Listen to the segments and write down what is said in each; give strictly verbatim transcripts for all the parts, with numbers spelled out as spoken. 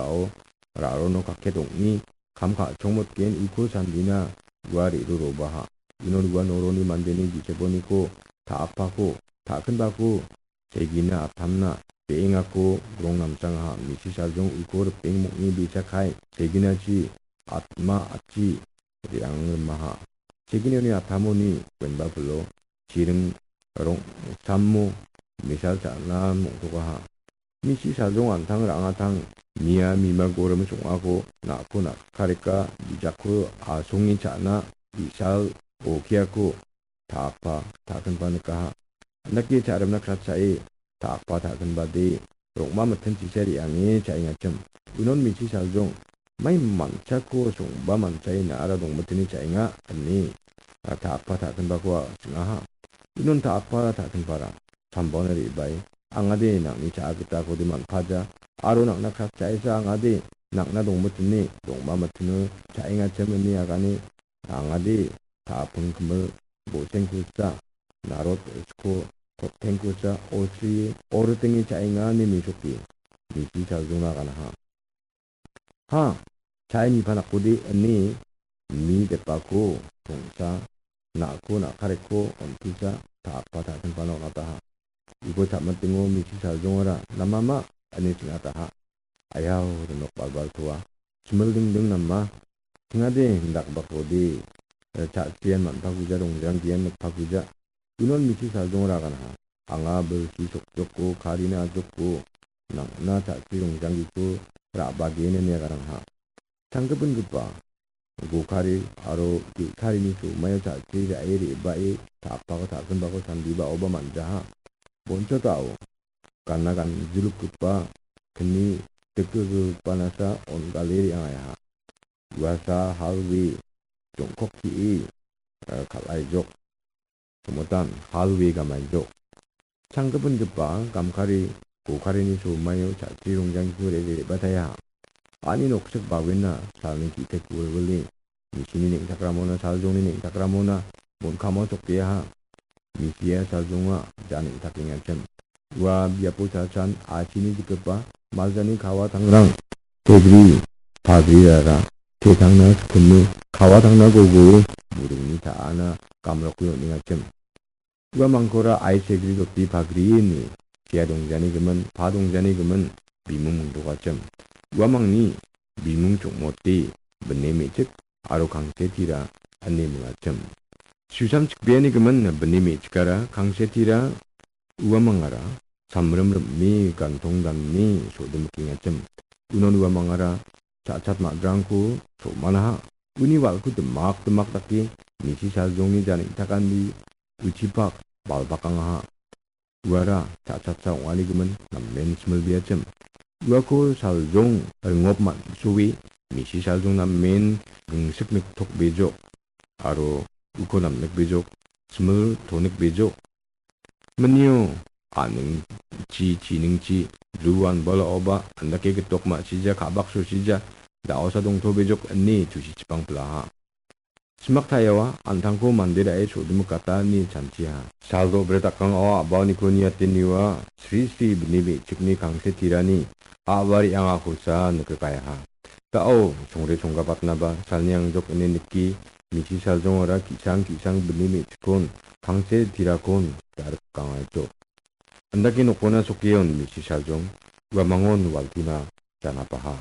Ao ra·aro nok kaket ong·e kam ka·chongmotgen uko sandina ua re·rorobaha. Unon ua noroni mandeni giseponiko ta·akpako, ta·akinbako segina atamna be·engako grong namsangaha. Misi Saljong uko ripeng mong·e bisakai seginachi atma atchi re·angrimaha. Seginioni atamoni wenba pilo chiring rong·samo misal cha·na mong·tokaha. Misi Saljong an·tang ra·angatang mia mima gorim song·ako na·ko na·kareka bijakko asonge cha·na bi·sal okiako ta·akpa ta·akinba nikaha. Andake cha·rimna kratchae ta·akpa ta·akinbade rong·ma mitin chisa re·ange cha·engachim. Unon Misi Saljong mai manchako song·ba manchae na·ara dongmitene cha·enga ine ta·akpa ta·akinbako ching·aha. Unon ta·akpa ta·akinbara sambao re·bae, angade nang·ni cha·a gitakode man·paja aro nang·na kratchaesa angade nang·na dongmitene rong·ma mitino cha·engachim ine agane angade ta·aping kimil bo·sengkusa narot sko totengkusa osri oritenge cha·enga ine mesoke Misi Saljongna ganaha. Ha, cha·e nipanakode ine mi depako tongsa na·ko na·kareko on·tisa ta·akpa ta·akinbana on·ataha. Uko cha·mitingo Misi Saljongara namama ine ching·ataha. Ayao rinok balbal toa. Chimil dingding nama. Ching·ade indakbakode, eh, cha·chian man·pakuja rongjanggian nikpakuja. Unon Misi Saljongara ganaha. Anga bilsi sokjoko karina ajokko nang·na cha·chi rongjanggiko ra·bagen ine aganangha. Changgipingipa gokari aro ge·karini somaio cha·chi ra·e re·bae ta·apako ta·akinbako sandibaoba man·jaha. Bonchotao gana ganjilukgipa kni dikgilgilgipanasa on·gale re·angaha. Uasa halwe jongkok ki·e, eh, kal·aijok. Somotan halwe gamaijok. Changgipingipa gamkari gokarini somaio cha·chi rongjanggiko re·re re·bataia. Ani noksik bawena salni ki·tek wilwile. Misini neng·takramona, Saljongni neng·takramona, mon·kamo chokeaha. Misia Saljonga ja neng·takengachim. Ua biapo cha·chan achini dikgipa maljani kawa tangrang, tegri, pagrirara, te tangna skime, kawa tangna gogoe, buringni ta·ana gamroke on·engachim. Ua mangkora ai segri doti pagrie ine, sea dongjani gimin, pa dongjani gimin, bimung mingtokachim. Ua mangni bimung chongmote, bine me·chik aro kangse tira ine mingachim. Susam chikbeani gimin bine me·chikara kangse tira ua mangara samrim rim·e gantong dane so·dimikengachim. Unon ua mangara cha·chat ma·drangko so·manaha. Uni wal·ko dimak dimak dake Misi Saljongni ja neng·takani uchipak balbakangaha. Uara cha·cha-cha ong·ani gimin namen similbeachim. Uako Saljong ringop man·soe, Misi Saljong namen gingsik niktok bejok, aro uko namnik bejok, simil tonik bejok. Minio, aning chi, chiningchi, bru anbalaoba, andake gitok ma·sija, kabak sosija, da·osa dongto bejok ine tusichipang pilaha. Simak ta·iawa, an·tangko mande ra·e so·dimikata ine chanchiha. Sal do·bret a·kangao a·baoniko niateniwa, sri sri bini me·chikni kangse tirani a·ba re·angakosa nikgikaha. Da·o, chongre chonggapatnaba salni angjok ine nike, Misi Saljongara ki·sang ki·sang bini me·chikkon, kangse tirakon, darikkangaito. Andake nokona sokeon Misi Saljong, uamangon waltina janapaha.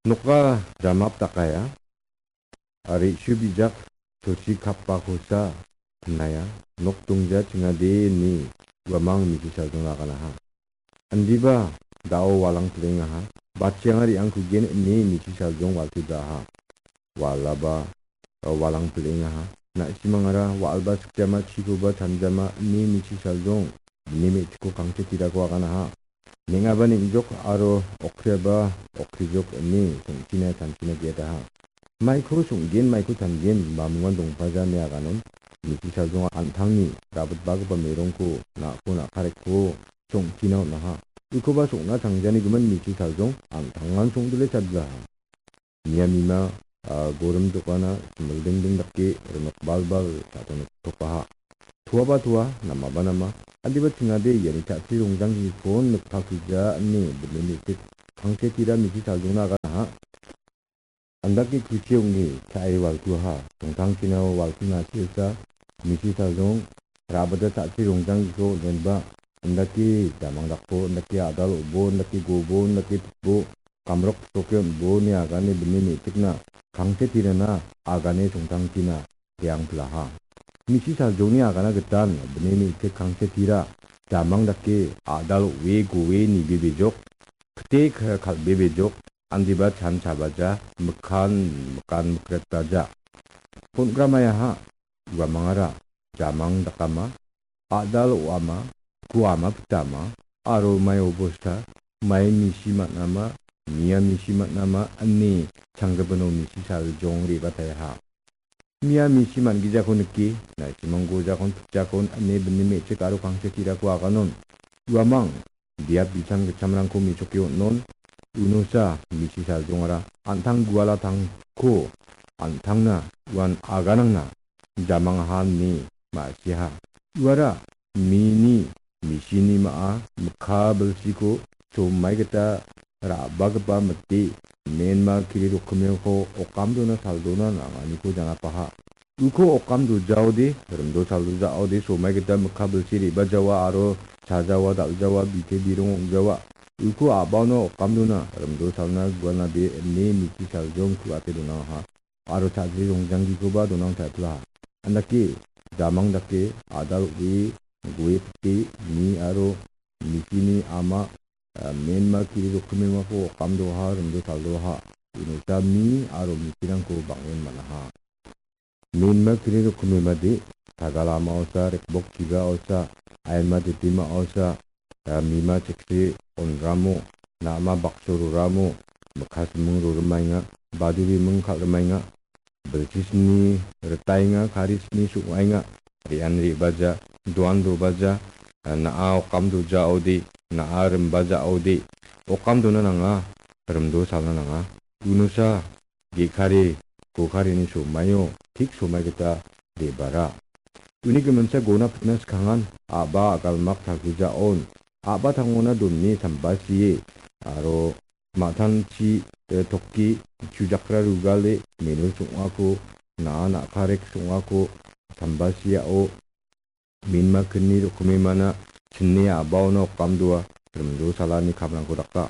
Noka jamap dakaia. Ari su bijak tochi kapbakosa pinaia, nok dongja chingade ine uamang Misi Saljong aganaha. Indiba da·o walang plengaha, bachengari angkugen ine Misi Saljong waltibaha. Walaba, walang plengaha, na·simangara wa·alba sikjama chikoba chanjama ine Misi Saljong bini me·chikko kangse tirako aganaha. Neng·aba neng·jok aro okriaba okrijok ine song·china chanchina ge·adaha. Maiko song·gen, maiko tangen, mamungan dongpaja ine aganon, Misi Saljong an·tangni rabitbagipa merongko na·ko na·kareko song·china on·aha. Ukoba song·na changjani gimin Misi Saljong an·tangan songdile chadlaha. Niamima, ah, gorim jokana, simildingding dake rimik balbal cha·tongriktokaha. Toaba toa, namaba nama, adiba chingade iani cha·chri rongjanggikon nikpakija ine bini me·chik Kangsetira misi saljongna aganaha. Andake kuchi ong·e cha·e walkuaha. Tongtangchina walkuna silsa misi saljong rabada cha·chi rongjanggiko on·enba. Andake damang dakbo, andake a·dal o·bo, andake gobo, andake pitbo, kamrok pitboke on·bo ine agane bini me·chikna Kangsetirana agane Tongtangchina teang pilaha. Misi saljongni agana gitan bini me·chik Kangsetira damang dake a·dal o·e goe nibebejok, kite k-, kal·bebejok, andiba chan chabaja, mikan mikan mikretbaja. Pon·gramayaha uamangara damang dakama, a·dal o·ama, kuama pitama, aro mai obosta, mai misi man·ama, mia misi man·ama, ine changgipino misi saljong re·batayaha. Mia misi man·gijako nike, naisimang gojakon pitjakon ine bini me·chik aro Kangsetirako aganon. Uamang, biap bicham gichamrangko mesoke on·on. Unosa misi saljongara an·tang gualatangko an·tangna uan aganangna jamangaha ine ma·siaha. Uara mini, misini ma·a mikka bilsiko chomai gita ra·bagipa mite menma kiri rokkimeko okamdona saldona nanganiko janapaha. Uko okam dojaode, rimdo saldojaode somai gita mikka bilsi re·bajawa aro chajawa, dal·jawa, bite birong ong·jawa. Uko a·baono okamdona rimdo salna gualna be ine miki saljong ku·ate donangaha. Aro chajri rongjanggikoba donang taipla. Andake, damang dake, a·dal o·e, gue pite, mi aro misini ama, ah, menma kiri rokkimemako okamdoha, rimdo saldoha. Unota mi aro misirangko bang·en man·aha. Menma kiri rokkimemade, sagal ama osa, rekbok chiga osa, aima ditima osa, ah, mima chikri onramo, na·ama bakso roramo, mikka siming rorimaenga, badu biming kal·rimaenga, bilsisni ritaenga, karisni song·aenga, re·an re·baja, doan dobaja, ah, na·a okam dojaode, na·a rimbajaode, okam dona nanga, rimdo salna nanga. Unosa, ge·kari, go·karini somaio, tik somai gita debara. Uni giminsa gona pitna skangan, a·ba agalmak tagrijaon, a·ba tangona done sambasie, aro ma·tangchi, eh, toki, chujakra rugale, menu song·ako, na·a na·karek song·ako, sambasiao, menma kni rokkimemana chine a·baona okamdoa rimdo salani kamrangko daka.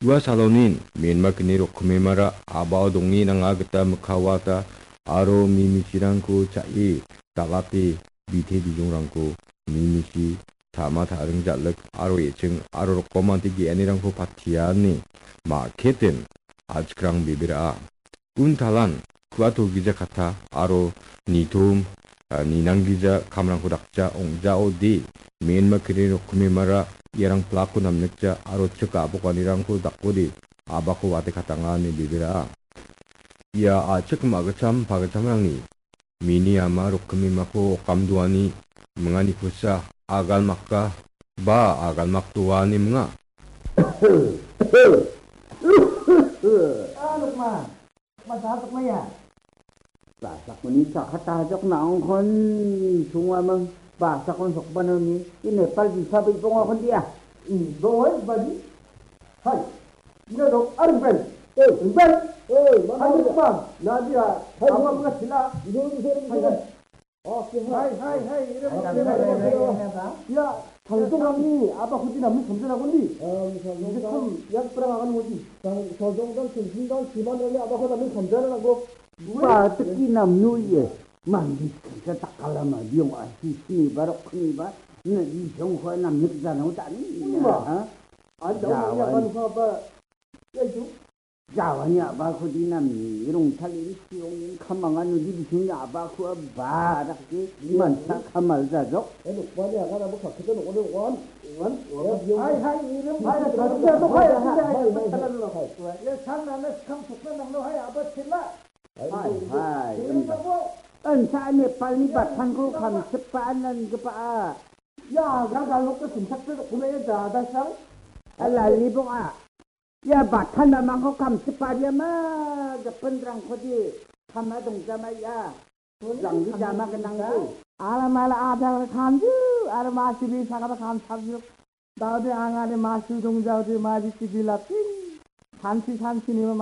Ua salonin menma kni rokkimemara a·bao donge nanga gita mikka wata aro mi misirangko cha·e dal·ate bite bijongrangko mi misi tama ta·ring jal·ik aro e·ching aro rokomante ge·anirangko patiani ma·keten a·chikrang bebera·a. Untalan, kua tolgija kata aro nitom, ah, ninanggija kamrangko dakja ong·jaode, menma kri rokkimemara iarang plakko namnikja aro chik a·bokanirangko dakode, a·bako wate katanga ine bebera·a. Ia a·chik ma·gitcham pagitchamrangni mini ama rokkimemako okamdoani minganikosa agalmaka ba agalmakdoani minga. Ah, Lukman. Basak maya. Basak mani sakata jok naongkon sungwa mang basak kon sokbana ni. Ini Nepal bisa bi pongo kon dia. Hmm, doi badi. Hai. Ina dok arben. Eh, ben. Eh, hai, mana dia? Lukman. Nadia. Hai, apa buat sila? Ini, ini, ini, ini. Hai, hai, hai, ira hai, ba, hai, ira hai, ba, hai, ira hai, ba. Hai. Ya, tangtung kami, apa kuti nami samjana kundi? Eh, samjana. Ini kum, yang perang akan wajib. Tang, sojong dan sumsum dan siman kami apa kuti nami samjana nanggo. Ba, teki namnu ye. Mandi kita takala ma, diong asi sini barok kini ba. Na di jong ko namnu jana utani. Iya. Ha? Ada orang yang kan apa? Ya itu. Jawani a·bako dina mirong talini sirongin kamanga nudi bisingni a·bako a barakde mansa kamal jajok. Eh, nokbani agan abo kakkita nokode wan, wan, wan, hai, hai, irim, hai, hai, hai, hai, hai, hai, hai, hai, hai, hai. Ya, sang nana skang sukna nangno hai, abo sila. Hai, hai, irim abo. Ensa Nepalni batangko kamsipaan nanggipa a. Ya, gagal nokko simsakte dokumen ya, jada sang. Ala libong a. Ia batan mamangko kamsipariama, gipinrangkode kama dongjama ia. Janggi jama genangde. Alam ala adang kamju, alam masibi sakaba kamsabjuk. Daudi angade masu dongjaudi maji sibi lapin. Sanchi, sanchi nima